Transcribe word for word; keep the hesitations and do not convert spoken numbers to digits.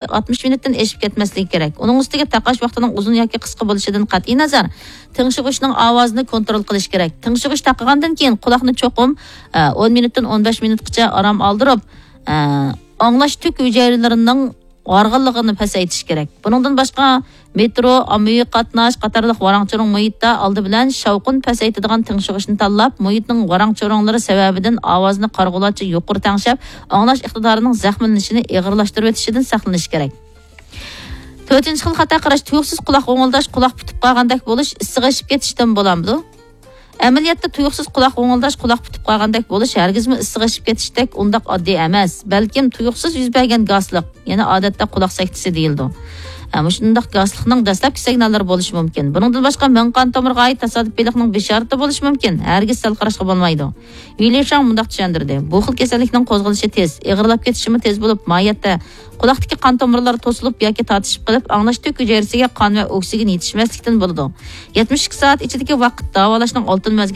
ئاتمىش مىنۇتتىن ئېشىپ كەتمەسلىكى كېرەك. ئۇنىڭ ئۈستىگە تاقاش ۋاقتىنىڭ ئۇزۇن ياكى قىسقا بولۇشىدىن قەتئىي نەزەر، تىڭشىغۇچنىڭ ئاۋازىنى كونترول قىلىش كېرەك. تىڭشىغۇچ تاقىغاندىن كېيىن قۇلاقنى چوقۇم، ئە، ئون مىنۇتتىن ئون بەش مىنۇتقىچە ئارام ئالدۇرۇپ، ئە، ئاڭلاش تۈك ھۈجەيرىلىرىنىڭ ھارغىنلىقىنى پەسەيتىش كېرەك. بۇنىڭدىن باشقا، مېترو، ئاممىۋى قاتناش قاتارلىق ۋاراڭ-چۇرۇڭ مۇھىتتا ئالدى بىلەن شاۋقۇن پەسەيتىدىغان تىڭشىغۇچنى تاللاپ، مۇھىتنىڭ ۋاراڭ-چۇرۇڭلىرى سەۋەبىدىن ئاۋازنى قارىغۇلارچە يۇقىرى تەڭشەپ، ئاڭلاش ئىقتىدارىنىڭ زەخىملىنىشىنى ئېغىرلاشتۇرۇۋېتىشىدىن ساقلىنىش كېرەك. تۆتىنچى خىل خاتا قاراش، تۇيۇقسىز قۇلاق غوڭۇلداش، قۇلاق پۈتۈپ قالغاندەك بولۇش، ئىسسىق ئېشىپ كېتىشتىن بولامدۇ؟ ئەمەلىيەتتە تۇيۇقسىز قۇلاق غوڭۇلداش، قۇلاق پۈتۈپ قالغاندەك بولۇش ھەرگىزمۇ ئىسسىق ئېشىپ كېتىشتەك ئۇنداق ئاددىي ئەمەس، بەلكىم تۇيۇقسىز يۈز بەرگەن گاسلىق، يەنى ئادەتتە قۇلاق سەكتىسى دېيىلىدۇ. ھە، مۇشۇنداق گاسلىقنىڭ دەسلەپكى سىگناللىرى بولۇشى مۇمكىن. بۇنىڭدىن باشقا، مېڭە قان تومۇرىغا ئائىت تاسادىپىيلىقنىڭ بېشارىتى بولۇشى مۇمكىن، ھەرگىز سەل قاراشقا بولمايدۇ. ۋىلى شاڭ مۇنداق چۈشەندۈردى: بۇ خىل كېسەللىكنىڭ قوزغىلىشى تېز، ئېغىرلاپ كېتىشىمۇ تېز بولۇپ، ماھىيەتتە قۇلاقتىكى قان تومۇرلىرى توسۇلۇپ ياكى تارتىشىپ قېلىپ، ئاڭلاش تۈك ھۈجەيرىسىگە قان ۋە ئوكسىگېن يېتىشمەسلىكتىن بولىدۇ. يەتمىش ئىككى سائەت ئىچىدىكى ۋاقىت داۋالاشنىڭ ئالتۇن مەزگىلى